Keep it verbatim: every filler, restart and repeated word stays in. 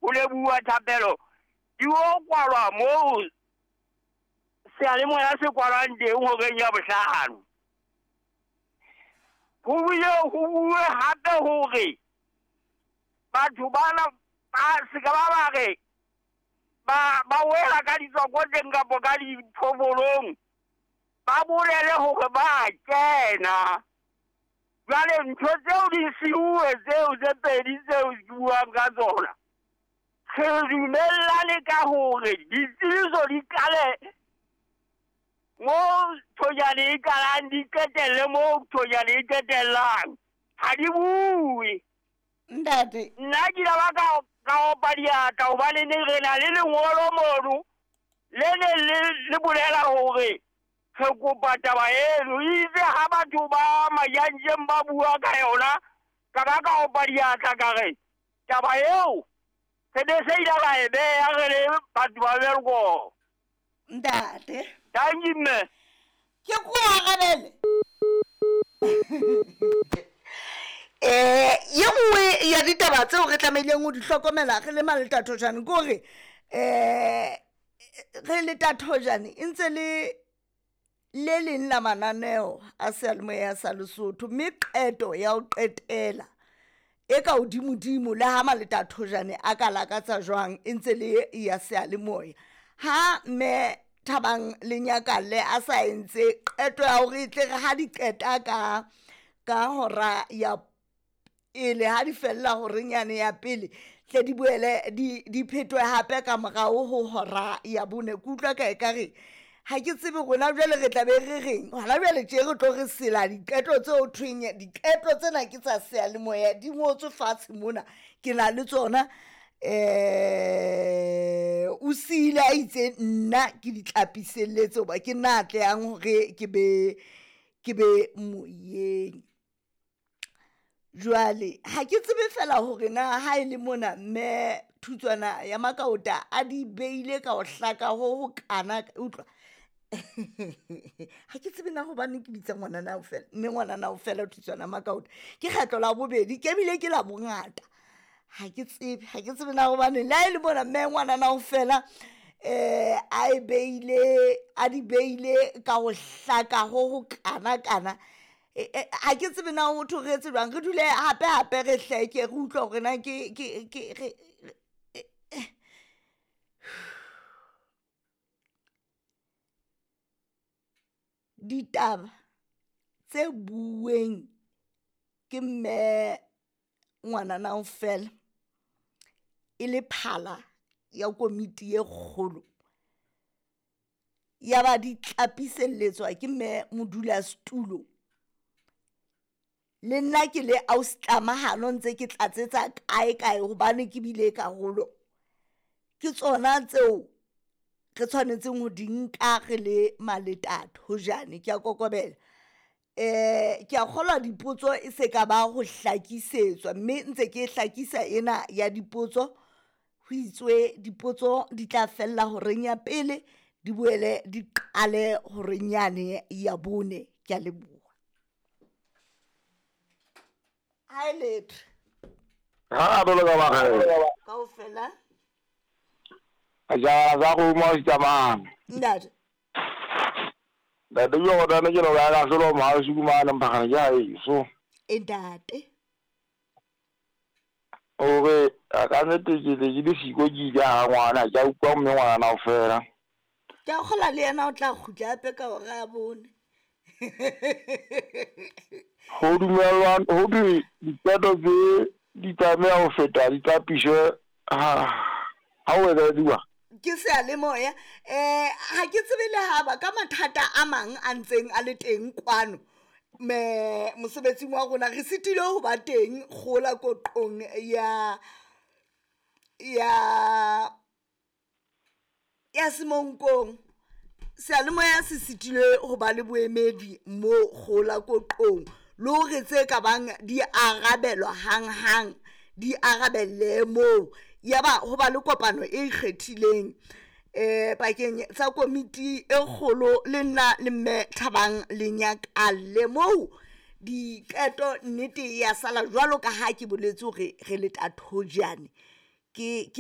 ho leboha thapelo di o kwalwa moo seyalemoya se kwalwang teng horeng ya bohlano. Ho bile ho bue hape hore batho bana ba se ka ba ba re ba ba wela ka ditswakotleng kapa ka diphofolong, ba bolele hore ba kena. Jwale ntho tseo di siuwe tseo tse pedi tseo ke buang ka tsona, re dumellane ka hore ditsebiso di qale mo thojane e qalang, di qetelle mo thojane e qetellang, ha di bue. Ntate, nna ke ile ba ka ka opa diatla hobane ne re na le lengolo mono le ne le le bolela hore re kopa taba eno. Itse ha batho ba Majantjeng ba bua ka yona, ka ba ka opa diatla ka re taba eo re ne se ile ra e beha re le batho ba Welkom. Ntate, Thank you, mme. Ke ko arabele. Eh, ye nngwe ya ditaba tseo re tlamehileng ho di hlokomela re le Maletathojane ke hore eh re le Tathojane e ntse le le leng la mananeo a seyalemoya sa Lesotho, mme qeto ya ho qetela e ka hodimodimo le ha Maletathojane a ka lakatsa jwang e ntse le ya seyalemoya. Ha mme Thabang Lenyakalle a sa entse qeto ya hore e tle re ha di qeta ka ka hora ya pele, ha di fella horeng yane ya pele, tle di boele di di phetwe hape ka morao ho hora ya bone. Ke utlwa ka ekare ha ke tsebe rona jwale re tla be re reng hona jwale tje re tlo re sela diqeto tseo thweng diqeto tsena ke tsa seyalemoya di ngotswe fatshe mona, ke na le tsona. Eh o siile a itse nna ke di tlapiselletse hoba ke nna a tlehang hore ke be ke be moyeng. Jwale ha ke tsebe fela hore na ha e le mona mme Thutswana ya Makaota a di beile ka ho hlaka ho ho kana, utlwa. Ha ke tsebe na hobane ke bitsa ngwanana ao fela, mme ngwanana ao fela Thutswana Makaota ke kgetlo la bobedi, ke bile ke la bongata. Ha ke tsebe, ha ke tsebe na hobane le ha e le mona mme ngwanana ao fela eh a e beile, a di beile ka ho hlaka ho ho kana kana. Ha ke tsebe na ho thwe re etse jwang, re dule hape hape re hleke re utlwe hore na ke ke ke re ditaba tse bueng ke mme ngwanana ao fela e le phala ya komiti e kgolo, ya ba di tlapiselletswa ke mme modulasetulo. Le nna ke le ausi-tlamahano ntse ke tlatsetsa kae kae hobane ke bile karolo. Ke tsona tseo re tshwanetseng ho di nka re le Maletathojane. Ke a kokobela. Eh ke a kgolwa dipotso e se ka ba ho hlakisetswa, mme ntse ke hlakisa ena ya dipotso. Ho itswe dipotso di tla fella horeng ya pele, di boele di qale horeng yane ya bone. Ke a leboha. Ha e letho. Ha a bolo ka ba re. Kaofela. A ja za go mo tsamang. Ntate. Ntate yo go ne ke lo ga solo ma su ma na mpagana ja e so. E ntate. O re a ka nete ke le ke le siko ke ile ha ngwana ja utlwa mme ngwana o fela. Ke a kgola le yena o tla kgutla hape ka hora ya bone. Ho dumellwa ho di diqeto tse di tlameha ho feta di tlapiswe ha ha o etsa Ke seyalemoya. Eh ha ke tsebe le ha ba ka mathata a mang a ntseng a le teng kwano me mosebetsing wa rona re sitile ho ba teng kgola koqong ya ya ya Semonkong. Seyalemoya se sitile ho ba le boemedi mo kgola koqong le hore tse ka bang di arabelwa hanghang di arabelle moo. Ya ba ho ba le kopano e ikgethileng eh pakeng tsa komiti e kgolo le nna le mme Thabang Lenyakalle moo diqeto nnete ya sala jwalo ka ha ke boletse hore re le Tathojane. Ke ke